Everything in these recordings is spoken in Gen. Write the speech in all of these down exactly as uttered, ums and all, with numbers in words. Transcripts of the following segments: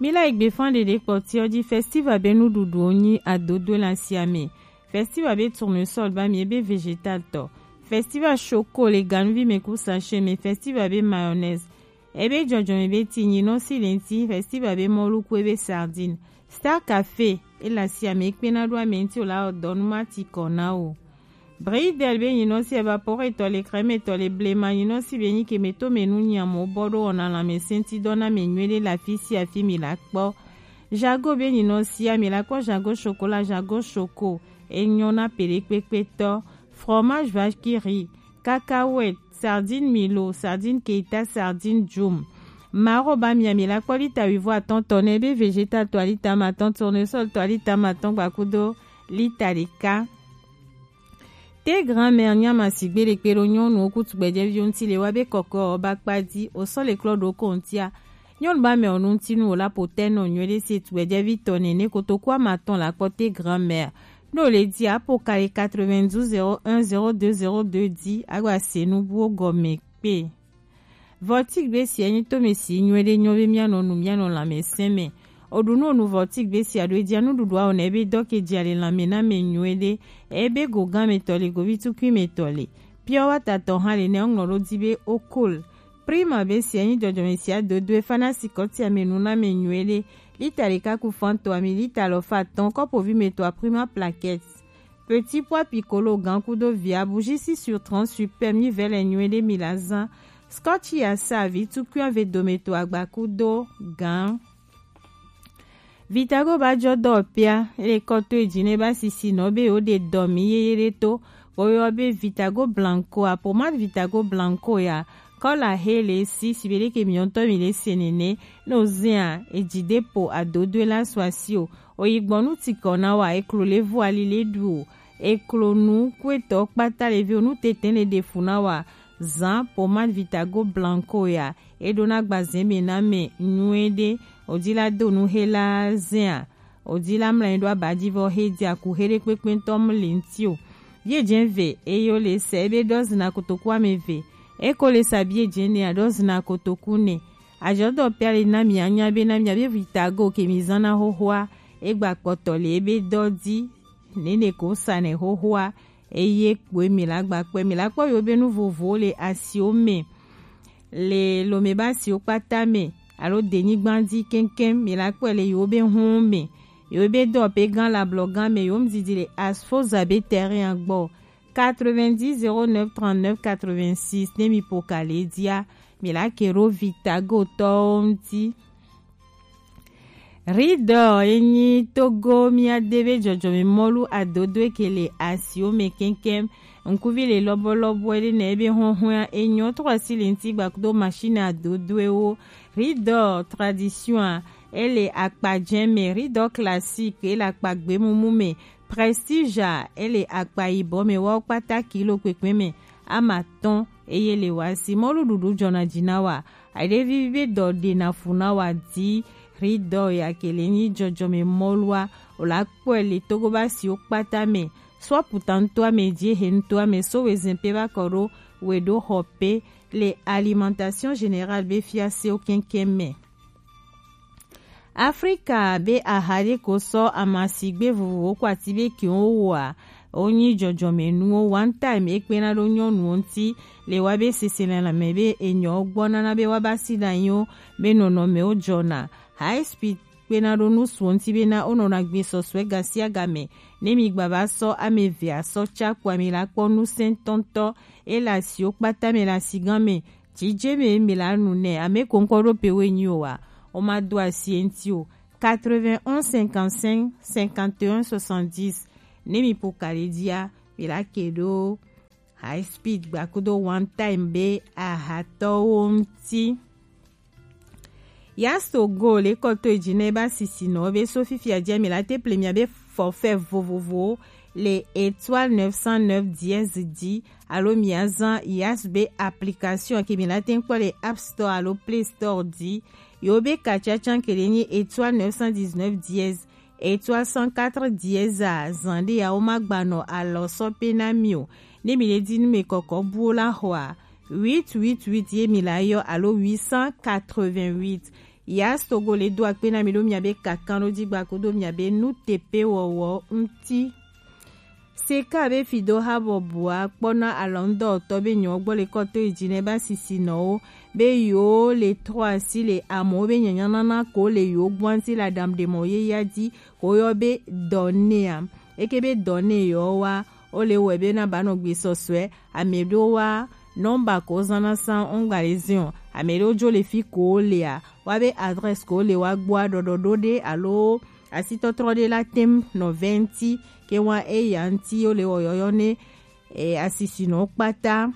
Mi la egbe fan ɖeɖe kpɔtiɔ ji festival be nuɖuɖuwo nyi adodoe le asiame. Festival be tournesol ba mi ebe vegetal tɔ. Festival choco le ganuvi me ku sachet me. Festival be mayonnaise ebe jɔjɔme be ti nyinɔ si le ŋti. Festival be mɔluku ebe sardine. Star Café ele asiame ekpena ɖo ame ŋti o la wɔ dɔ nu ma ti kɔ na o. Bridel be nyinɔ si evaporetɔ le crème tɔ le blema nyinɔ si be nyi ke me to me nu nyamo bɔ ɖo wɔna lãmesẽtidɔ na me nyuie ɖe le afi sia afi mi la kpɔ. Jago be nyinɔ sia mi la kpɔ jago chocolat, jago choco enyɔ na peɖekpekpetɔ. Fromage vaquerie, cacahuète, sardine milo, sardine keita, sardine jum. Maro ba mia mi la kpɔ lita wivɔ atɔn tɔ ne be vegetal tɔ alita ma tɔn, tournesol tɔ alita ma tɔn gbakudo lita ɖeka. Te grand-mère nyama sigbe ɖe kpe ɖo nyɔnuwo ku tugbɛjɛviwo ŋti le wa be kɔkɔ ɔ ba kpa di o sɔ le klɔ ɖo ko ŋtia. Nyɔnu ba mɛ ɔ nu ŋti nu o la po tɛ nɔ nyuie ɖe se tugbɛjɛvi tɔ nɛ ne kotoku ama tɔn la kpɔ te grand-mère. Ɖo le di apo kali quatre-vingt-douze zéro un zéro deux zéro deux di agba se nu buwo gɔme kpe. Vɔtik be sia nyi tome si nyuie ɖe nyɔ be mianɔ nu mianɔ lãmesẽ me. Oɖu nu onu vɔtik be sia ɖo edia nuɖuɖu awɔ na ebe dɔ ke dia le lãme na me nyuie ɖe. Ebe go gã me tɔ le govi tukui me tɔ le. Pure water tɔ hã le ne ŋlɔ ɖo di be okol. Prima be sia nyi jɔjɔme sia dodoe fana si kɔtia me nu na me nyuie ɖe. Lita ɖeka ku fan tɔ ami lita lɔ fa tɔn kɔpovi me tɔ a prima plaquette. Petit pois piccolo gan kudo via bougie si sur trente super mi vɛ le nyuie ɖe mi la zan. Scotch ya sa vi tukui ave dome to agba kudo gan. Vitago ba jɔ dɔ pia ele kɔto eji ne ba sisi nɔ be o de dɔ mi yeye ɖe to. Ko yɔ be Vitago blanco a pomade Vitago blanco ya kɔla he le si si be ɖeke mi ŋutɔ mi le se nene. No zia eji de po adodoe la so asi o. Oyi gbɔnu tikɔ na wa eklo le vu ali le ɖu o. Eklo nu kuetɔ kpata le vi o nu tete le ɖe fu na wa. Zan pomade Vitago blanco ya eɖo na gbazɛ me na me nyuie ɖe. Odi la do nu he la zɛa. Odi la mla ɖo aba ji vɔ he di aku he ɖe kpekpe ŋutɔ mu le ŋti o. Bie jɛ ve eye o le sɛ ebe ɖɔ zina kotoku ame ve. Eko le sa bie jɛ ne aɖɔ zina kotoku ne. Ajɔdɔ pia le na mi anya be na mi abe Vitago ke mi zan na xoxoa. Egba kpɔtɔ le ebe dɔ di nene ko sa ne xoxoa. Eye kpoe mi la gba kpɔe mi la kpɔ yo be nu vovowo le asiwo me. Le lome ba asiwo kpata me alo denyigba di keŋkeŋ mi la kpɔe le yo be hun me. Yo be dɔ pe gan la blɔ gan me yo mu didi le asfoza be terrain gbɔ. Quatre-vingt-dix zéro neuf trente-neuf quatre-vingt-six ne mi po ka le dia. Mi la ke ɖo Vitago tɔwo ŋti. Ridɔ enyi Togo mia de be jɔjɔme mɔlu adodo eke le asiwo me keŋkeŋ. Ŋkuvi le lɔbɔlɔbɔ ɖe ne ebe hɔhɔa enyɔ trɔ si le ŋti gbakudo machine adodoewo. Ridɔ tradition a ele akpa jɛ me, ridɔ classique ele akpa gbemumu me. Prestige a ele akpa yibɔ me wa wo kpata kilo kpekpe me ama tɔn eye le wa si mɔlu ɖuɖu jɔna ji na wa. Aɖevi be dɔ ɖe na fu na wa di ridɔ ya ke le nyi jɔjɔme mɔlua o la kpɔe le Togo ba si wo kpata me. So aputa ŋutɔ ame di ehe ŋutɔ ame so we zɛn pe ba kɔ ɖo we ɖo xɔ pe le alimentation générale be fiasewo keŋkeŋ me. Afrika be aha ɖe ko sɔ amasigbe vovovowo ko ati be kiwo woa wonyi jɔjɔmenuwo. One time ekpena ɖo nyɔnuwo ŋti le wa be seselelãme be enyɔwo gbɔ nana be wa ba si ɖe anyiwo be nɔnɔmewo jɔna. High speed kpena ɖo nusuwo ŋti be na wonɔna gbe sɔsɔe gasiagame. Ne mi gba va sɔ ame eve asɔ ca kpoa mi la kpɔ nusɛntɔntɔ ele asiwo kpata me le asigã me. Jijeme mi la nu nɛ ame ko ŋkɔ ɖo pe wo enyi o wa. O ma do asi eŋti o. Quatre-vingt-onze cinquante-cinq cinquante et un soixante-dix. Ne mi po kali dia mi la ke ɖo high speed gbakudo one time be ahatɔwo ŋti. Yasto go le kɔto eji ne ba sisi nɔ be so fifia dia mi la te ple mia be forfait vovovo le étoile neuf cent neuf dièse di alo mia zan yas be application ke mi la te kpɔ le App Store alo Play Store di. Yo be ka cacan ke le nyi étoile neuf cent dix-neuf dièse étoile cent quatre dièse a zan ɖe ya wo ma gba nɔ alɔ sɔ pe na mi o. Ne mi le di nu me kɔkɔ buwo la xɔa huit huit huit ye mi la yɔ alo huit cent quatre-vingt-huit. Yas Togo le do akpe na mi ɖo miabe kakan ɖo ji gba kudo miabe nutepe wɔwɔ ŋuti. Seka be fi do ha bɔbɔa kpɔna alɔŋdɔtɔ be nyɔ gbɔ le kɔto yi ji ne ba sisi nɔwo be yo le trɔ asi le amewo be nyanya nana ko le yo gbɔ ŋuti le aɖaŋuɖemɔ ye ya ji ko yɔ be dɔnea. Eke be dɔne yɔ wa o le wɛ be na ba nɔ gbe sɔsɔɛ ame ɖo wa nɔmba ko zana san ŋgba le ziɔ ame ɖo jo le fi ko lea wa be adresse ko le wa gbɔa ɖɔɖɔ ɖo ɖe alo asitɔtrɔ ɖe la tem nɔ vɛ ŋuti ke wa eya ŋuti o le wɔ yɔyɔ ne e, asisinɔ kpata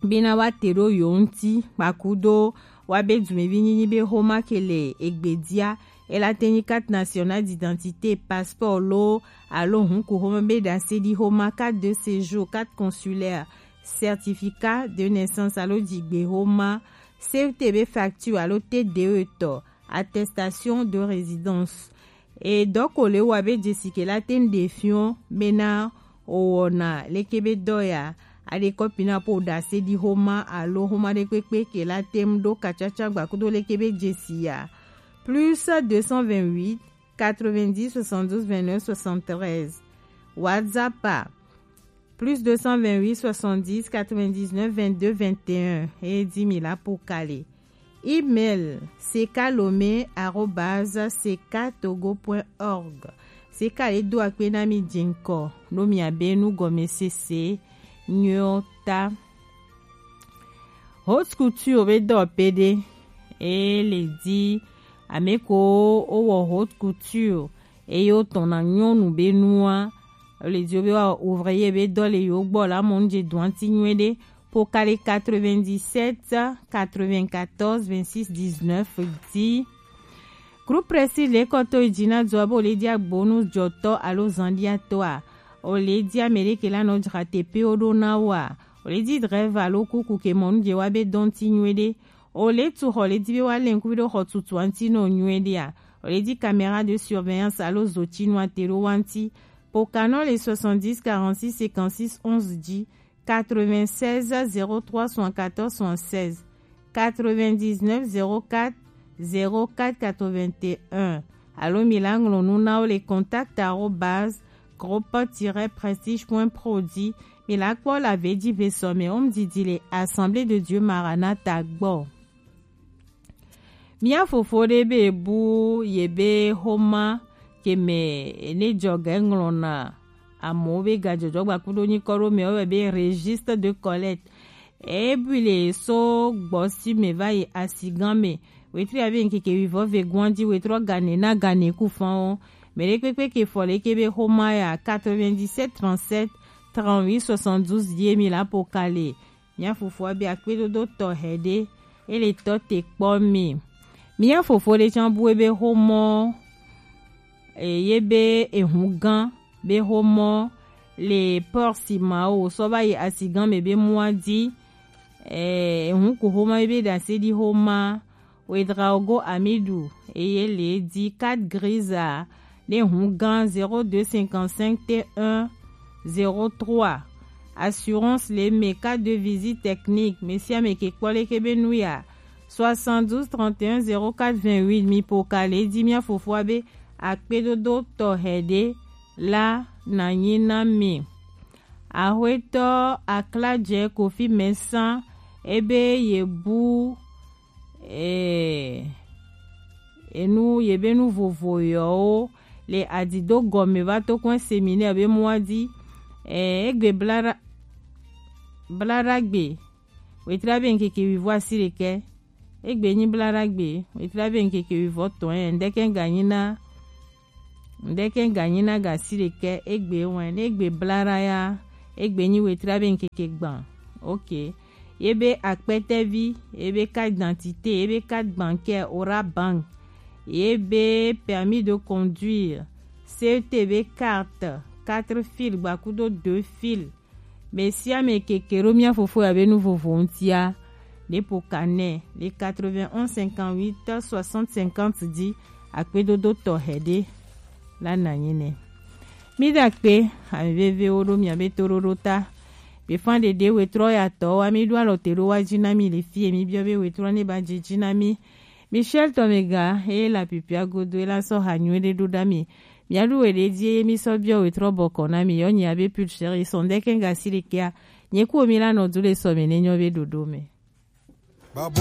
bina wa te ɖo yo ŋuti kpakudo wa be dumevi nyinyi be xoma ke le egbedia ela te nyi carte nationale d'identité, passeport lo alo hunku xoma be ɖase ɖi xoma, carte de séjour, carte consulaire, certificat de naissance alo jigbe xoma, C T be facture alo T D E tɔ, attestation de résidence. E dɔko le wa be jesi ke la ten de fiɔ bena o wɔna leke be dɔ ya a de kɔpi na po da se di xoma alo xoma de kpekpe ke la tem do katsatsa gba kudo leke be jesi ya. Plus deux cent vingt-huit, quatre-vingt-dix, soixante-douze, vingt-neuf, soixante-treize. WhatsApp a plus deux cent vingt-huit, soixante-dix, quatre-vingt-dix-neuf, vingt-deux, vingt et un. E di mi la po kale. Email sekalome arobase sekatogo point org. Seka e do akpe na mi jinkɔ no mi abe nu gɔme sese nyɔ ta. Haute couture be dɔ pede e le di ame ko o wɔ haute couture eye o tɔn na nyɔnu be nua o le di o be wa ouvrier be dɔ le yo gbɔ la mɔ nu je dɔn ti nyuie de. Pokale quatre-vingt-dix-sept, quatre-vingt-quatorze, vingt-six, dix-neuf di. Groupe Prestige le kɔto yi dzi na dzoa be o le di agbonu dzɔtɔ alo zandiatɔa. O le di ame ɖe ke la nɔ dzra teƒewo ɖo na woa. O le di drɛva alo kuku ke mɔ nu dze wa be dɔn ti nyuie ɖe. O le tu xɔ le di be wa le ŋkuvi ɖo xɔ tutua ŋti nɔ nyuie ɖea. O le di caméra de surveillance alo zotinu ate ɖo wa ŋti. Pokanɔ le soixante-dix quarante-six cinquante-six onze dzi. Quatre-vingt-seize zéro trois soixante-quatorze soixante-seize, quatre-vingt-dix-neuf zéro quatre zéro quatre quatre-vingt-un. Alo mi la ŋlɔ nu na wo le contact arobase groupe tiret prestige point pro dzi. Mi la kpɔ la ve dzi ve sɔmɛ wo mu didi le Assemblée de Dieu Maranatha gbɔ. Mía fofo ɖe be bu ye be xoma ke me ne dzɔ ge ŋlɔna amewo be gadzɔdzɔ gbakuɖo nyikɔ ɖo me wo be registre de collecte. Ebui le so gbɔsi me va yi asigan me. Wetri abe ŋkeke wivɔ ve guan dzi wetrɔ gane na gane ku fan wo. Me ɖe kpekpe ke fɔ le ke be xoma ya quatre-vingt-dix-sept trente-sept trente-huit soixante-douze die mi la po kale. Mía fofoa be akpedodo tɔxɛ ɖe, e le tɔ te kpɔ mi. Mía fofo ɖe tsã bu ebe xomɔ, e, ye be ehun gan be xomɔ le port si ma wo sɔ va yi asigan me be mua di, e, ehun ku xoma ye be ɖase ɖi xoma, Ouedraogo Amidou, eye le di carte grise a, ne hun gan zéro deux cinquante-cinq T un zéro trois. Assurance le me carte de visite technique, mesia me ke kpɔ leke be nu ya. Soixante-douze trente et un zéro quatre vingt-huit, mi po ka le di mia fofoa be akpedodo tɔxɛ ɖe la na nyi na mi. Axwetɔ Akladze Kofi Mɛsa, ebe ye bu, eh, enu, ye be nu vovo yɔwo le adido gɔme va to kɔn séminaire be mua di, eh, egbe blara, blara gbe, wetra be ŋkeke wivɔ asi ɖekɛ. Egbe nyi blara gbe, wetra be ŋkeke wivɔ tɔn, eh, ŋdeke ganyi na Ŋdeke ganyi na ga si ɖekɛ egbe wɛn, ne egbe blara ya, egbe nyi wetra be ŋkeke gban. Ok. Ye be akpɛtɛvi, ye be carte d'identité, ye be carte bancaire, Orabank, ye be permis de conduire, C E T be carte, quatre fil gbakudo deux fil. Mesiame keke ɖo mia fofo ya be nu vovo ŋutia, ɖe po ka nɛ le quatre-vingt-onze cinquante-huit soixante cinquante di akpedodo tɔxɛ ɖe la na nyi nɛ. Mi da kpe, ami vevewo ɖo mia be toɖoɖo ta. Be fan ɖeɖe wetrɔ ya tɔ wa mi ɖo alɔ te ɖo wa dzi na mi le fie mi biɔ be wetrɔ ne ba dzi dzi na mi. Michel Tomega, e la pipia godo, e la sɔ ha nyuie ɖe ɖo ɖa mi. Mia ɖu we ɖe die ye mi sɔ biɔ we trɔ bɔkɔ na mi yɔ nyi abe pulcher ye sɔn ɖe kɛn ga si ɖe kea. Nye ku mi la nɔ du le sɔ mi ne nyɔ be ɖoɖo me.